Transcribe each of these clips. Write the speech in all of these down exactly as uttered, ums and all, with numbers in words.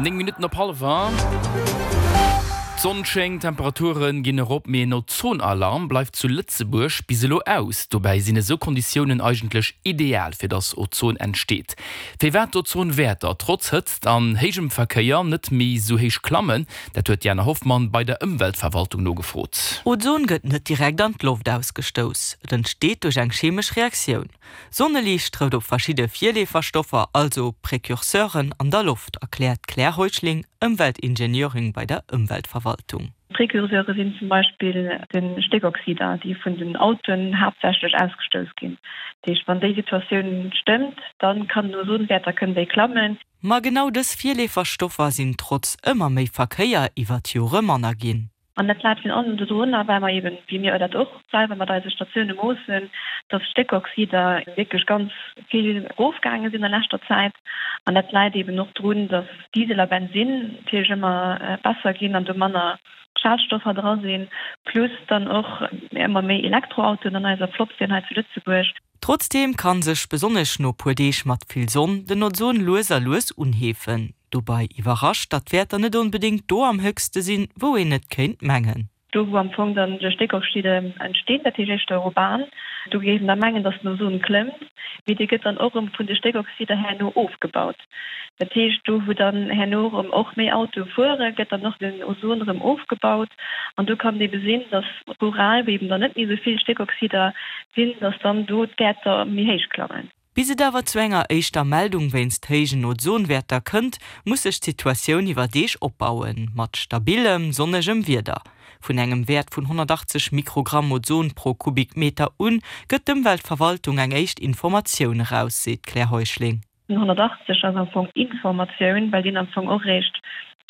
Néng Minutten op hallwer. D'Sonn schéngt, d'Temperature ginn erop, mee en Ozonalarm bleift zu Lëtzebuerg bis elo aus. Dobäi sinn esou Konditiounen eigentlech ideal, fir dass Ozon entsteet. Firwat d'Ozonwäerter trotz Hëtzt an héijem Verkéier net méi esou héich klammen, dat huet d'Diana Hoffmann bei der Ëmweltverwaltung nogefrot. Ozon gëtt net direkt an d'Loft ausgestouss. Et entsteet duerch eng chemesch Reaktioun. Sonneliicht trëfft op verschidde Virleeferstoffer, also Precurseuren, an der Loft, erkläert d'Claire Heuschling, Ëmweltingenieurin bei der Ëmweltverwaltung. Precurseure sinn zum Beispill de Stéckoxider, déi vun den Autoen haaptsächlech ausgestouss ginn. Dat heescht, wann déi Situatioun stëmmt, da kann den Ozonwäerter kënnen déi klammen. Ma genau dës Virleeferstoffer sinn trotz ëmmer méi Verkéier iwwer d'Jore manner ginn. An dat läit virun allem dodrunner, well mer eben, wéi mir dat och selwer mat eise Statioune moossen, dass d'Stéckoxider wierklech ganz vill erofgaange sinn a leschter Zäit. An dat läit eben och drun, dass Diesel a Bensinn natierlech ëmmer besser ginn an do manner Schadstoffer dra sinn, plus dann och ëmmer méi Elektroautoen an eiser Flott sinn hei zu Lëtzebuerg. Trotzdeem kann sech, besonnesch no puer Deeg mat vill Sonn, den Ozon lues a lues unheefen. Dobäi iwwerrascht, datt d'Wäerter net onbedéngt do am héchste sinn, wou een et kéint mengen. Do wou am Fong dann de Stéckoxide entstinn, dat heescht éischter urban, do géif een da mengen, datt den Ozon klëmmt, mee dee gëtt dann och erëm vun de Stéckoxider herno ofgebaut. Dat heescht, do wou dann herno erëm och méi Autoe fueren, gëtt dann och den Ozon erëm ofgebaut. An do kann et ebe sinn, datt rural, wou eben dann net méi esou vill Stéckoxider sinn, datt dann do d'Wäerter méi héich klammen. Bis et awer zu enger éischter Meldung wéinst héijen Ozonwäerter kënnt, muss sech d'Situatioun iwwer Deeg opbauen, mat stabillem, sonnegem Wieder. Vun engem Wäert vun honnertachtzeg Mikrogramm Ozon pro Kubikmeter un, gëtt d'Ëmweltverwaltung eng éischt Informatioun eraus, seet d'Claire Heuschling. Den honnertachtzeg ass am Fong Informatioun, well deen am Fong och eréischt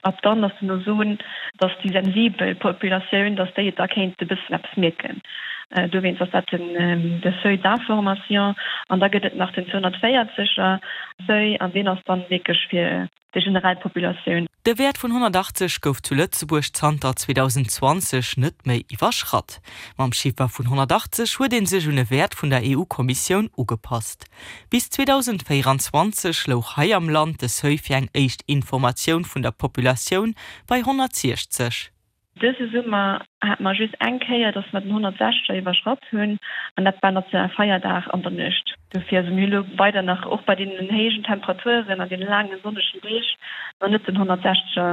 ab dann, dass den Ozon, dass déi sensibel Populatioun, dass déi et da kéint e bëssen eppes mierken. Dowéinst ass dat den de Seuil d'information. An da gëtt et nach den zweehonnertvéierzeger Seuil an deen ass dann wierklech fir déi generell Populatioun. De Wäert vun honnertachtzeg gouf zu Lëtzebuerg zanter zweedausendenzwanzeg net méi iwwerschratt. Mam Chiffer vun honnertachtzeg huet ee sech un e Wäert vun der EU-Kommissioun ugepasst. Bis zweedausendvéieranzwanzeg louch hei am Land de Seuil fir eng éischt Informatioun vun der Populatioun bei honnertsiechzeg. Dëse Summer hate mer just eng Kéier, dass mer den honnertsechzeger iwwerschratt hunn, an dat war Nationalfeierdag an der Nuecht. Dofir, also mir hu lo weider nach, och bei deenen héijen Temperaturen an deene laange sonnegen Deeg, nach net den honnertsechzeger